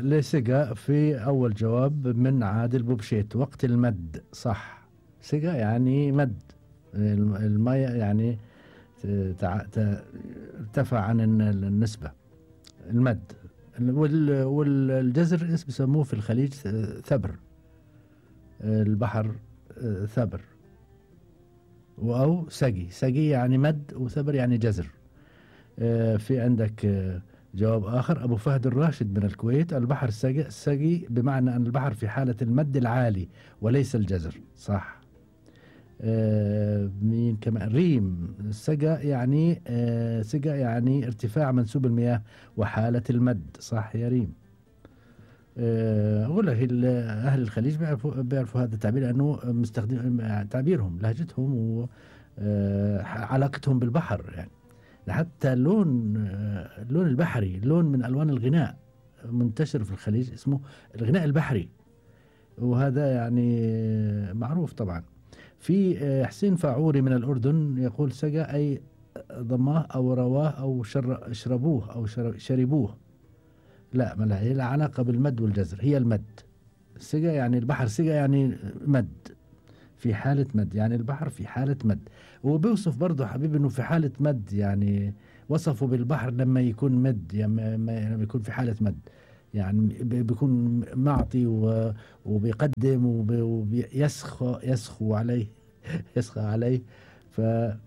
لسقا في أول جواب من عادل بوبشيت. وقت المد صح. سقا يعني مد المية، يعني ارتفع عن النسبة المد. والجزر بيسموه في الخليج ثبر. البحر ثبر، أو سقي. سقي يعني مد، وثبر يعني جزر. في عندك جواب آخر. أبو فهد الراشد من الكويت: البحر سقي بمعنى أن البحر في حالة المد العالي وليس الجزر. صح. مين كمان؟ ريم: سقا يعني سقا يعني ارتفاع منسوب المياه وحالة المد. صح يا ريم. أقول لك أهل الخليج بيعرفوا هذا التعبير لأنه مستخدم تعبيرهم، لهجتهم وعلاقتهم بالبحر. يعني حتى اللون البحري، لون من ألوان الغناء منتشر في الخليج اسمه الغناء البحري، وهذا يعني معروف طبعا. في حسين فاعوري من الأردن يقول: سقى أي ضماه أو رواه أو شربوه أو شربوه. لا، ما لها علاقة بالمد والجزر، هي المد. سقى يعني البحر، سقى يعني مد، في حالة مد، يعني البحر في حالة مد. وبيوصف برضه حبيبي انه في حالة مد، يعني وصفه بالبحر لما يكون مد، يعني لما يكون في حالة مد، يعني بيكون معطي وبيقدم ويسخو عليه يسخى عليه. ففي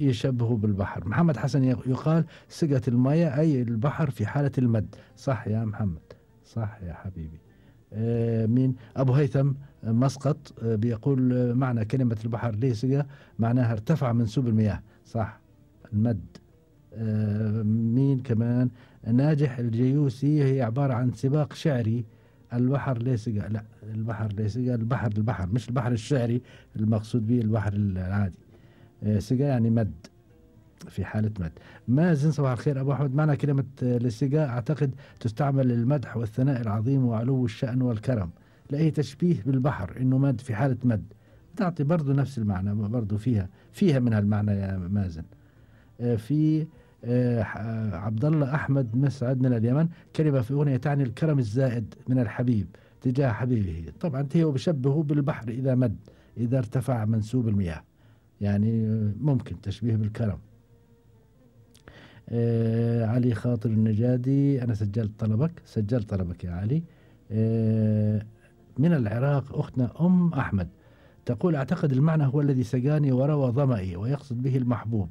يشبهه بالبحر. محمد حسن يقال: سقت المياه أي البحر في حالة المد. صح يا محمد، صح يا حبيبي. مين؟ أبو هيثم مسقط بيقول: معنى كلمة البحر ليسقى معناها ارتفع منسوب المياه. صح، المد. مين كمان؟ ناجح الجيوسي: هي عبارة عن سباق شعري. البحر ليسقى، لا، البحر ليسقى البحر مش البحر الشعري المقصود به البحر العادي. سقى يعني مد، في حالة مد. مازن: صباح الخير أبو أحمد، معنى كلمة للسقا أعتقد تستعمل للمدح والثناء العظيم وعلو الشأن والكرم، لأي تشبيه بالبحر إنه مد في حالة مد، تعطي برضو نفس المعنى، برضو فيها من هالمعنى يا مازن. في عبد الله أحمد مسعد من اليمن: كلمة في أغنية تعني الكرم الزائد من الحبيب تجاه حبيبه. طبعا هو بشبهه بالبحر إذا مد، إذا ارتفع منسوب المياه، يعني ممكن تشبيه بالكرم. علي خاطر النجادي: أنا سجلت طلبك يا علي. من العراق أختنا أم أحمد تقول: أعتقد المعنى هو الذي سقاني وروى ظمئي، ويقصد به المحبوب.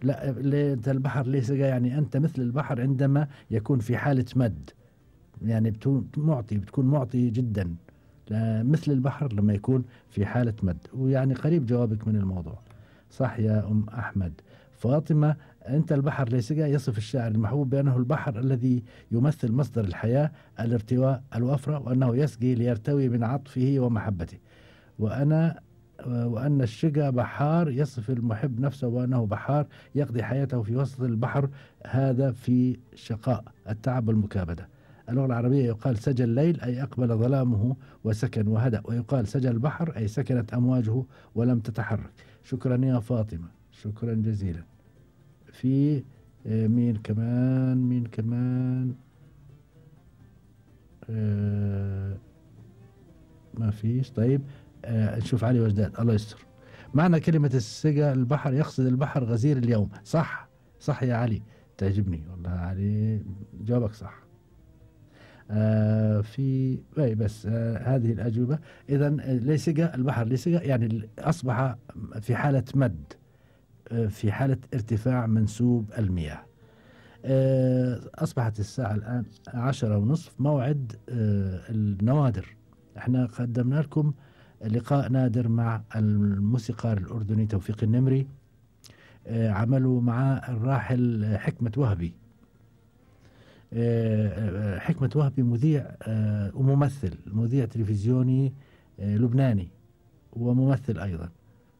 لا، أنت البحر ليه سقى؟ يعني أنت مثل البحر عندما يكون في حالة مد، يعني بتكون معطي جدا، مثل البحر لما يكون في حالة مد. ويعني قريب جوابك من الموضوع. صح يا أم أحمد. فاطمة: أنت البحر ليس يصف الشاعر المحبوب بأنه البحر الذي يمثل مصدر الحياة، الارتواء، الوفرة، وأنه يسقي ليرتوي من عطفه ومحبته. وأن الشقى بحار يصف المحب نفسه وأنه بحار يقضي حياته في وسط البحر، هذا في شقاء التعب والمكابدة. اللغة العربية يقال سجى الليل أي أقبل ظلامه وسكن وهدأ، ويقال سجى البحر أي سكنت أمواجه ولم تتحرك. شكرا يا فاطمة، شكرا جزيلا. في مين كمان ما فيش. طيب نشوف علي وجداد، الله يستر. معنى كلمة السقى البحر يقصد البحر غزير اليوم. صح يا علي، تعجبني والله علي، جوابك صح. في بس هذه الأجوبة. إذا ليسقى البحر ليسقى يعني أصبح في حالة مد، في حالة ارتفاع منسوب المياه. أصبحت الساعة الآن 10:30، موعد النوادر. احنا قدمنا لكم لقاء نادر مع الموسيقار الأردني توفيق النمري، عملوا مع الراحل حكمة وهبي. حكمة وهبي مذيع وممثل، مذيع تلفزيوني لبناني وممثل أيضا،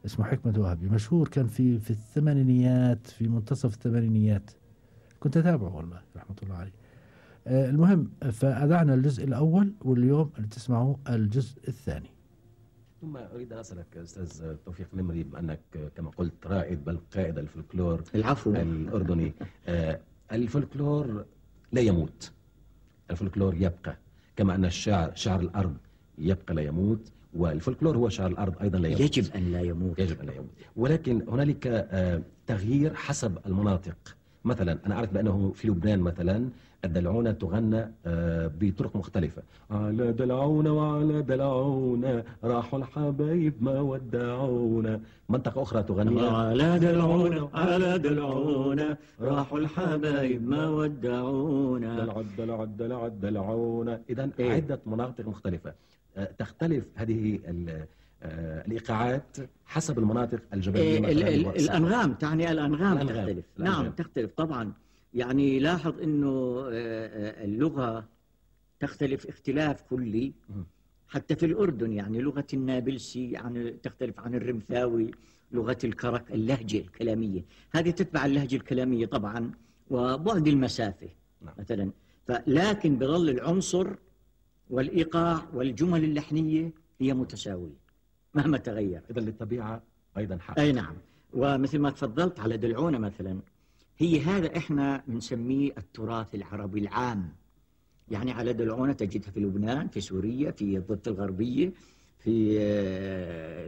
اسمه حكمة وهبي، مشهور، كان في الثمانينيات، في منتصف الثمانينيات، كنت أتابعه والله رحمة الله عليه. المهم، فأذعنا الجزء الأول، واليوم تسمعوا الجزء الثاني. ثم أريد أن أسألك أستاذ توفيق نمري، بما أنك كما قلت رائد بل قائد الفلكلور العفو الأردني، الفولكلور لا يموت، الفولكلور يبقى، كما أن الشعر شعر الأرض يبقى لا يموت، والفولكلور هو شعر الأرض أيضا لا يموت. يجب أن لا يموت. يجب أن لا يموت، ولكن هنالك تغيير حسب المناطق. مثلا أنا أعرف بأنه في لبنان مثلا الدلعونة تغنى بطرق مختلفة. على دلعونة وعلى دلعونة راحوا الحبايب ما ودعونا. منطقة أخرى تغني على دلعونة على دلعونة راحوا الحبايب ما ودعونا. دلع دلعونة. إذن عدة مناطق مختلفة تختلف هذه الإيقاعات حسب المناطق الجبلية. الأنغام تعني الأنغام تختلف. نعم تختلف طبعا. يعني لاحظ أنه اللغة تختلف اختلاف كلي حتى في الأردن. يعني لغة النابلسي يعني تختلف عن الرمثاوي، لغة الكرك اللهجة الكلامية هذه تتبع اللهجة الكلامية طبعا وبعد المسافة مثلا، لكن بظل العنصر والإيقاع والجمل اللحنية هي متساوية مهما تغير. إذن للطبيعة أيضا حق. أي نعم. ومثل ما تفضلت على دلعونة مثلا، هي هذا إحنا بنسميه التراث العربي العام. يعني على دلعونة تجدها في لبنان، في سوريا، في الضفة الغربية، في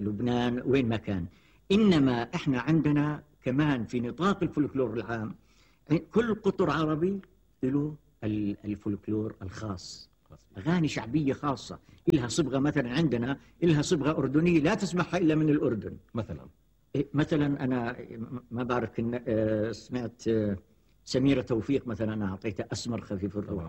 لبنان، وين ما كان. إنما إحنا عندنا كمان في نطاق الفولكلور العام كل قطر عربي له الفولكلور الخاص، أغاني شعبية خاصة إلها صبغة. مثلا عندنا إلها صبغة أردنية لا تسمعها إلا من الأردن. مثلا أنا ما بعرف سمعت سميرة توفيق مثلا، أنا أعطيتها أسمر خفيف الروح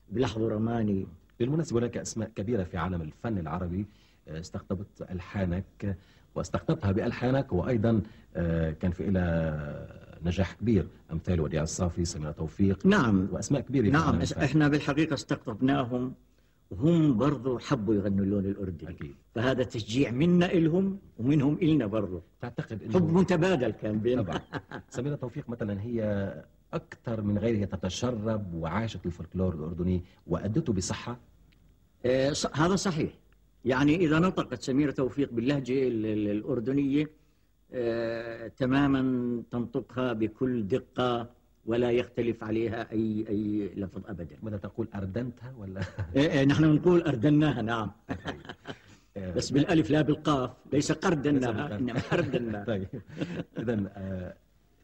بلحظة رماني. بالمناسبة هناك أسماء كبيرة في عالم الفن العربي استقطبت ألحانك واستقطبتها بألحانك، وأيضا كان في إلى نجاح كبير، أمثال وديع الصافي، سميرة توفيق. نعم وأسماء كبيرة. نعم إحنا بالحقيقة استقطبناهم وهم برضو حبوا يغنوا اللون الأردني. أكيد. فهذا تشجيع منا إلهم ومنهم إلنا برضو. تعتقد إنه حب متبادل كان بيننا. طبعا. سميرة توفيق مثلا هي أكثر من غيرها تتشرب وعاشت الفولكلور الأردني وأدته بصحة. هذا صحيح. يعني إذا نطقت سميرة توفيق باللهجة الأردنية تماما تنطقها بكل دقة ولا يختلف عليها أي لفظ أبدا. ماذا تقول، أردنتها ولا؟ نحن نقول أردناها. نعم. بس بالألف لا بالقاف، ليس قردناها إنما أردناها. طيب إذن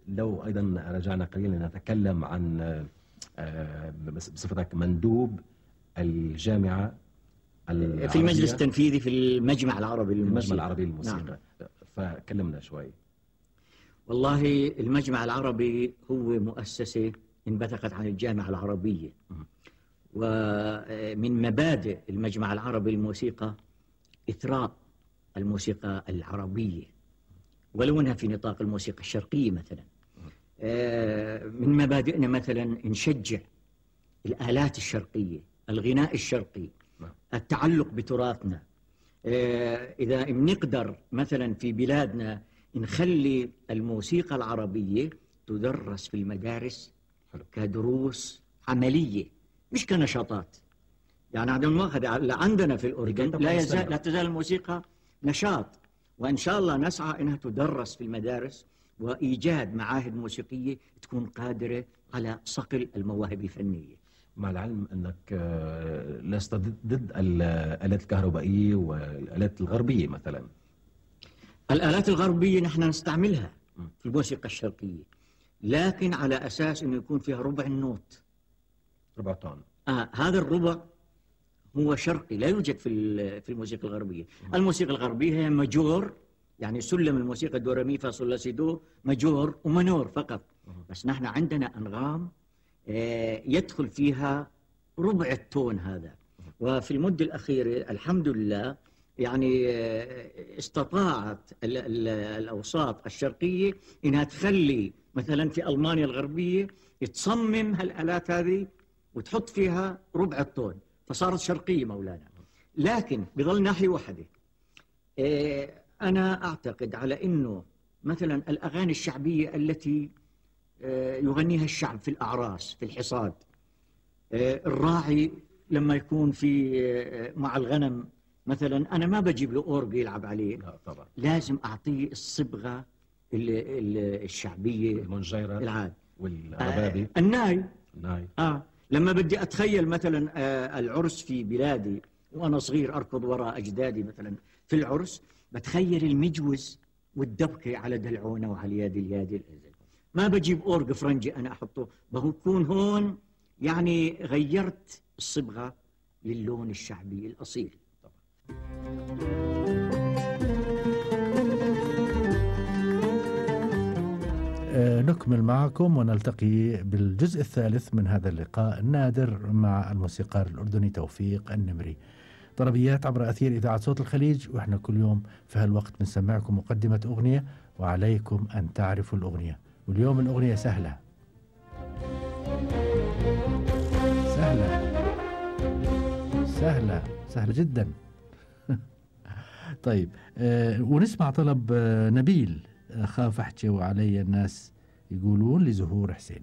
لو أيضا رجعنا قليلا نتكلم عن بصفتك مندوب الجامعة العربية في المجلس التنفيذي في المجمع العربي للموسيقى. المجمع العربي للموسيقى. نعم. فكلمنا شوي. والله المجمع العربي هو مؤسسة انبثقت عن الجامعة العربية. ومن مبادئ المجمع العربي للموسيقى إثراء الموسيقى العربية ولو أنها في نطاق الموسيقى الشرقية مثلا. من مبادئنا مثلا نشجع الآلات الشرقية، الغناء الشرقي، التعلق بتراثنا. إذا بنقدر مثلا في بلادنا نخلي الموسيقى العربية تدرس في المدارس كدروس عملية مش كنشاطات. يعني عندنا في الأردن لا تزال الموسيقى نشاط، وإن شاء الله نسعى أنها تدرس في المدارس وإيجاد معاهد موسيقية تكون قادرة على صقل المواهب الفنية. مع العلم أنك لست ضد الآلات الكهربائية والآلات الغربية مثلا. الآلات الغربية نحن نستعملها في الموسيقى الشرقية، لكن على أساس أنه يكون فيها ربع النوت، ربع طن. هذا الربع هو شرقي لا يوجد في الموسيقى الغربية. الموسيقى الغربية هي ماجور، يعني سلم الموسيقى دو ري مي فا صول لا سي دو ماجور ومنور فقط. بس نحن عندنا أنغام يدخل فيها ربع التون هذا. وفي المدة الأخيرة الحمد لله يعني استطاعت الأوساط الشرقية إنها تخلي مثلا في ألمانيا الغربية تصمم هالآلات هذه وتحط فيها ربع التون فصارت شرقية مولانا. لكن بظل ناحية واحدة، أنا أعتقد على أنه مثلا الأغاني الشعبية التي يغنيها الشعب في الأعراس في الحصاد، الراعي لما يكون في مع الغنم مثلا، أنا ما بجيب له أورج يلعب عليه. لا طبعا. لازم أعطيه الصبغة الشعبية المنجيرة العاد. والربابي. الناي. ناي. لما بدي أتخيل مثلا العرس في بلادي وأنا صغير أركض وراء أجدادي مثلا في العرس، بتخيل المجوز والدبكة على دلعونة وعلى يد اليد. ما بجيب أورج فرنجي أنا أحطه، بكون هون يعني غيرت الصبغة للون الشعبي الأصيل. نكمل معكم ونلتقي بالجزء الثالث من هذا اللقاء النادر مع الموسيقار الأردني توفيق النمري. طربيات عبر أثير إذاعة صوت الخليج، وإحنا كل يوم في هالوقت بنسمعكم مقدمة أغنية وعليكم أن تعرفوا الأغنية. واليوم الأغنية سهلة سهلة سهلة سهلة جدا. طيب ونسمع طلب نبيل. خاف أحكي وعلي الناس يقولون لزهور حسين.